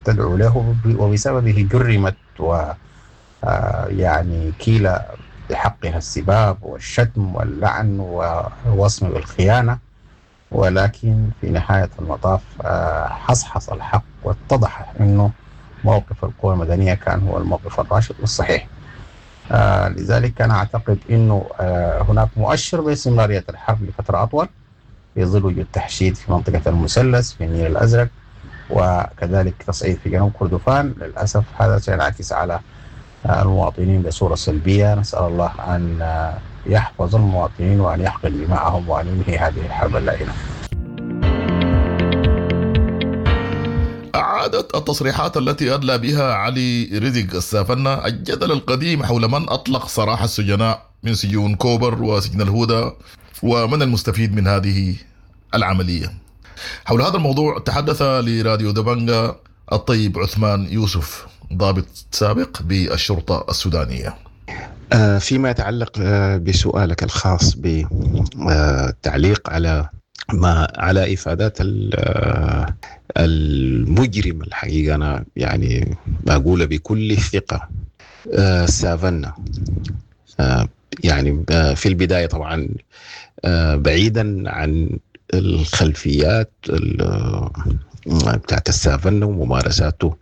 تدعو له وبسببه جرمت و يعني كيل بحقها السباب والشتم واللعن والوصم بالخيانة، ولكن في نهاية المطاف حصحص الحق واتضح أنه موقف القوى المدنية كان هو الموقف الراشد والصحيح. لذلك أنا أعتقد أنه هناك مؤشر باستمرارية الحرب لفترة أطول في ظل وجود تحشيد في منطقة المثلث في النيل الأزرق، وكذلك تصعيد في جنوب كردفان. للأسف هذا سينعكس على المواطنين بصورة سلبية. نسأل الله أن يحفظ المواطنين وأن يحقن دماءهم وأن ينهي هذه الحرب اللعينة. أعادت التصريحات التي أدلى بها علي رزق السافنة الجدل القديم حول من أطلق سراح السجناء من سجون كوبر وسجن الهدى ومن المستفيد من هذه العملية. حول هذا الموضوع تحدث لراديو دبنجا الطيب عثمان يوسف، ضابط سابق بالشرطة السودانية. فيما يتعلق بسؤالك الخاص بالتعليق على ما على إفادات المجرم، الحقيقة أنا يعني بقول بكل ثقة سافنا يعني في البداية طبعا بعيدا عن الخلفيات بتاعت السافنا وممارساته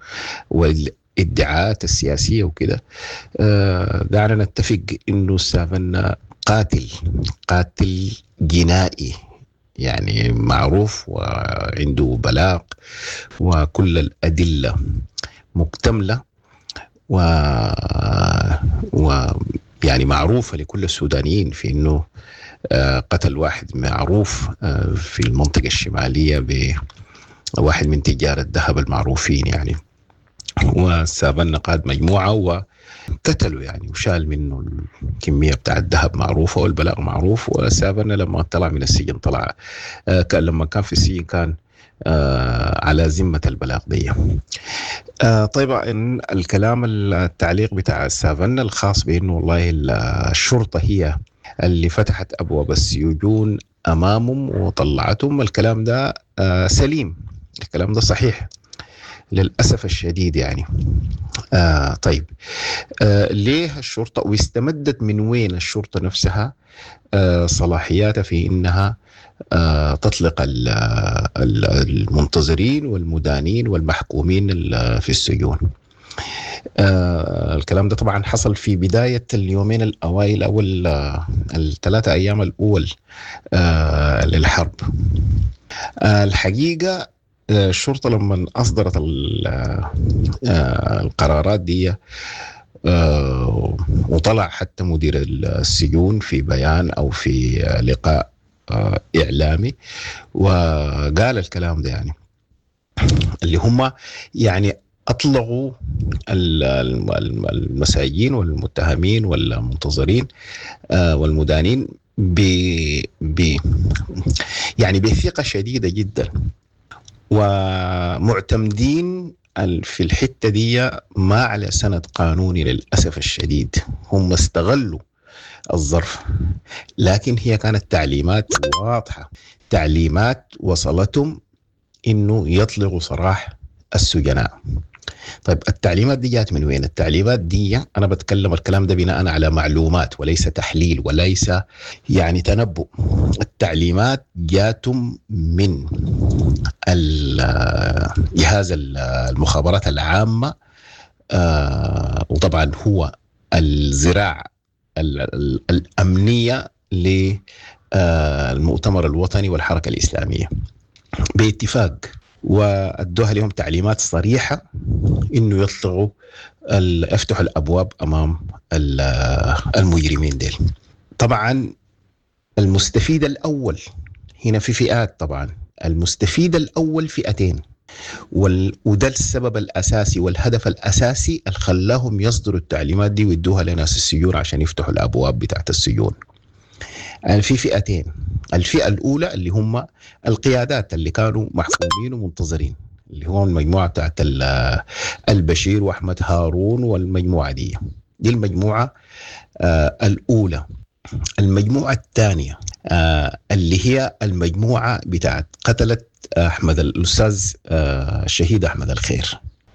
والادعاءات السياسية وكده، دعنا نتفق إنه السافنا قاتل جنائي يعني معروف وعنده بلاغ وكل الأدلة مكتملة يعني معروفة لكل السودانيين في إنه قتل واحد معروف في المنطقة الشمالية بواحد من تجار الذهب المعروفين يعني، وسابنا قاد مجموعة وقتلوا يعني وشال منه الكمية بتاع الذهب معروفة والبلاغ معروف. وسابنا لما طلع من السجن طلع لما كان في السجن كان على ذمة البلاغ دي. طيب الكلام التعليق بتاع السافنا الخاص بأنه والله الشرطة هي اللي فتحت أبواب السجون أمامهم وطلعتهم، الكلام ده سليم، الكلام ده صحيح للأسف الشديد يعني. طيب ليه الشرطة واستمدت من وين الشرطة نفسها صلاحياتها في إنها تطلق المنتظرين والمدانين والمحكومين في السجون؟ الكلام ده طبعا حصل في بداية اليومين الأوائل أو الثلاثة أيام الأول للحرب. الحقيقة الشرطة لما أصدرت القرارات دي وطلع حتى مدير السجون في بيان أو في لقاء إعلامي وقال الكلام ده، يعني اللي هم يعني أطلقوا المساجين والمتهمين والمنتظرين والمدانين ب يعني بثقة شديدة جدا، ومعتمدين في الحتة دي ما على سند قانوني للأسف الشديد. هم استغلوا الظرف، لكن هي كانت تعليمات واضحة، تعليمات وصلتهم إنه يطلقوا سراح السجناء. طيب التعليمات دي جات من وين؟ التعليمات دي أنا بتكلم الكلام ده بناء على معلومات وليس تحليل وليس يعني تنبؤ. التعليمات جاتهم من جهاز المخابرات العامة، وطبعا هو الذراع الأمنية للمؤتمر الوطني والحركة الإسلامية باتفاق، وأدوها لهم تعليمات صريحة إنه يطلقوا يفتحوا الأبواب أمام المجرمين ديل. طبعا المستفيد الأول هنا في فئات، طبعا المستفيد الأول فئتين، وده السبب الأساسي والهدف الأساسي اللي خلاهم يصدروا التعليمات دي ويدوها لناس السجون عشان يفتحوا الأبواب بتاعت السجون. يعني في فئتين، الفئة الأولى اللي هم القيادات اللي كانوا محكومين ومنتظرين، اللي هو المجموعة بتاعت البشير وأحمد هارون والمجموعة دي المجموعة الأولى. المجموعة الثانية اللي هي المجموعة بتاعت قتلت أحمد الأستاذ الشهيد أحمد الخير.